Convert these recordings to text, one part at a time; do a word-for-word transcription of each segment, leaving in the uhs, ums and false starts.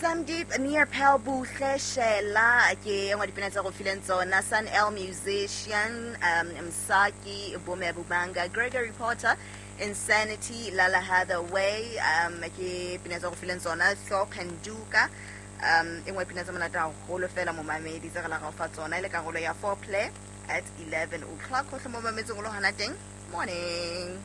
Sandeep Nearpel Buhle Shela ke engwe dipina tsa go fileng tsona Sun L musician um Msaki Bome Bubanga Gregory Porter Insanity Lala Hathaway um ke pina tsa go fileng tsona Thor Kanduka um engwe pina tsa monate haholo fela momamedi tse re la go fa tsona ile karolo ya foreplay at eleven o'clock ho hle momametseng o lo hana teng morning.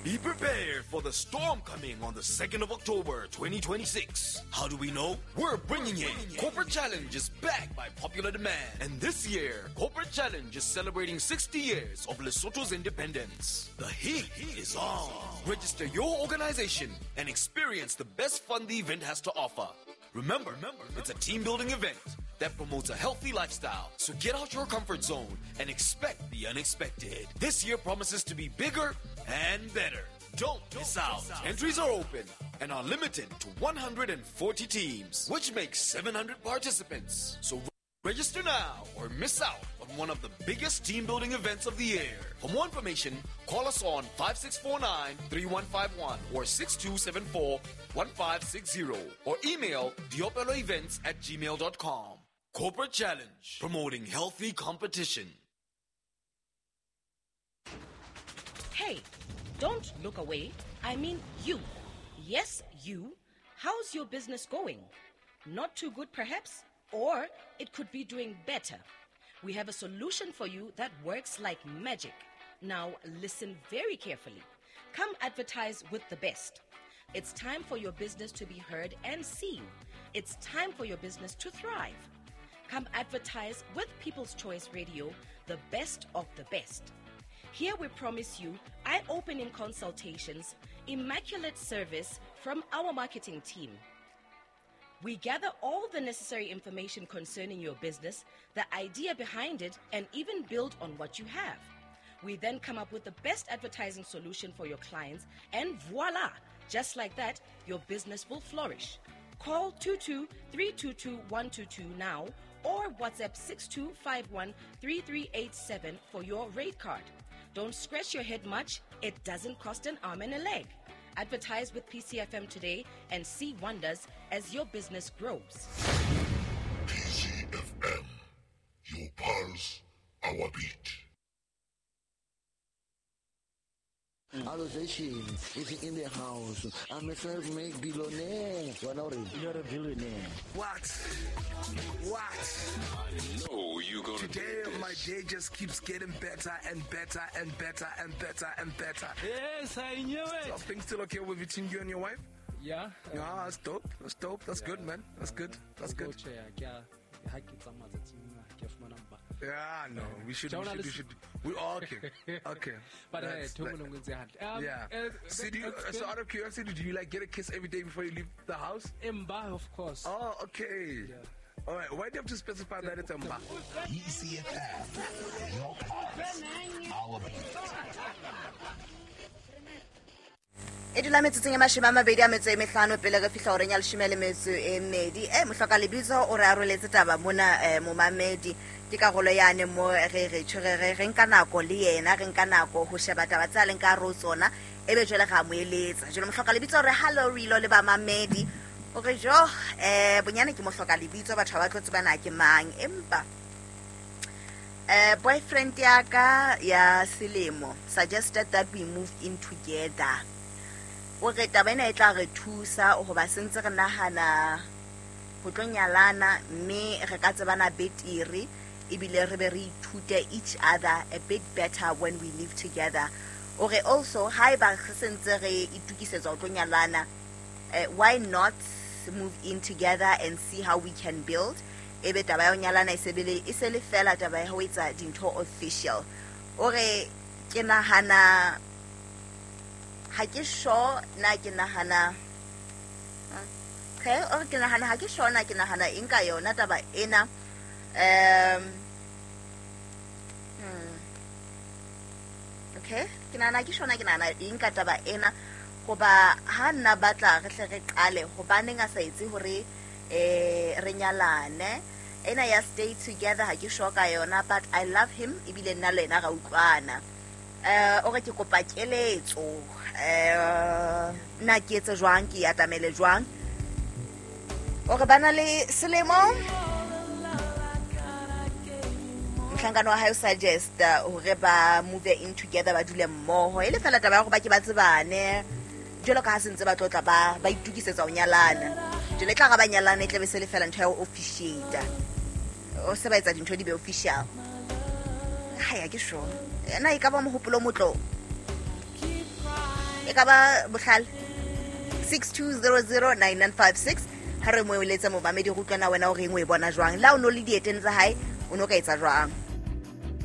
Be prepared for the storm coming on the second of October, twenty twenty-six. How do we know? We're bringing it. Corporate Challenge is back by popular demand. And this year, Corporate Challenge is celebrating sixty years of Lesotho's independence. The heat is on. Register your organization and experience the best fun the event has to offer. Remember, it's a team-building event that promotes a healthy lifestyle. So get out your comfort zone and expect the unexpected. This year promises to be bigger and better. Don't miss out. Entries are open and are limited to one hundred forty teams, which makes seven hundred participants. So register now or miss out on one of the biggest team-building events of the year. For more information, call us on five six four nine, three one five one or six two seven four, one five six zero or email diopeloevents at gmail dot com. Corporate Challenge, promoting healthy competition. Hey, don't look away. I mean you. Yes, you. How's your business going? Not too good, perhaps? Or it could be doing better. We have a solution for you that works like magic. Now listen very carefully. Come advertise with the best. It's time for your business to be heard and seen. It's time for your business to thrive. Come advertise with People's Choice Radio, the best of the best. Here we promise you eye-opening consultations, immaculate service from our marketing team. We gather all the necessary information concerning your business, the idea behind it, and even build on what you have. We then come up with the best advertising solution for your clients, and voila! Just like that, your business will flourish. Call two two three two two one two two now or WhatsApp six two five one three three eight seven for your rate card. Don't scratch your head much. It doesn't cost an arm and a leg. Advertise with P C F M today and see wonders as your business grows. P C F M, your pulse, our beat. Allocation is in the house. I'm a self-made billionaire. You're a billionaire. What? What? I know you're gonna Today, do this. My day just keeps getting better and better and better and better and better. Yes, I knew it. So, things still okay with between you and your wife? Yeah. Yeah, that's dope. That's dope. That's yeah. good, man. That's good. That's good. Yeah, no, we should, we should, we should, we all okay, okay. But that's, uh, like, um, yeah. Uh, so, do you, so out of curiosity, do you like get a kiss every day before you leave the house? Mba, of course. Oh, okay. Yeah. All right. Why do you have to specify that it's Mba? E C F M, your pulse, our beat. E dula metsotsong e mashome a mabedi a metso e mehlano pele re fihla horeng ya leshome le metso e mmedi. E mohloka lebitso o re aroletse taba mona eh, momamedi ke karolo yane mo re re tshwere re re nka nako le yena re nka nako ho sheba taba tsa leng ka ro tsona ebe jwale ga mo eletsa. Jwale mohloka lebitso re hello re ilo le ba mamedi o re jo eh bonyane ke mohloka lebitso batho ba tlo tsebana ke mang empa eh boyfriend ya ka ya selemo suggested that we move in together. O re taba ena e tla re thusa hoba sentse re nahana ho tlo nyalana mme re ka tsebana betere ebile re be re ithute each other a bit better when we live together. O re also haeba re sentse re itukisetsa ho tlo nyalana, why not move in together and see how we can build? Ebe taba ya ho nyalana e sebele e se le fela taba ya ho etsa dintho official. O re ke nahana ha ke sure na ke nahana okay o ke nahana ha ke sure na ke nahana eng ka yona taba ena. Um hmm. Okay ke nahana ke sure na ke nahana eng ka taba ena hoba ha nna batla re hle re qale hobaneng a sa etse hore eh re nyalane ena ya stay together ha ke sure ka yona, but I love him ebile nna le yena ra utlwana. Eh o re ke kopa keletso eh nna ke etse jwang ke atamele jwang. O re bana le selemo. Mohlankana wa hae o suggest hore ba move in together, ba dule mmoho. E le fela taba ya hore ba ke ba tsebane. Jwalo ka ha se ntse ba tlotla ba ba itukisetsa ho nyalana. Jwale tla ga ba nyalana e tlabe se le fela ntho ya ho officiate. O se ba etsa dintho di be official. Ha ya ke sure. Na e ka ba mohopolo motlo. E ka ba bohlale. six two zero zero nine nine five six. Ha re mo eletsa momamedi go utlwana wena o reng o e bona jwang. La o no le dieteng tsa hae o no ka etsa jwang.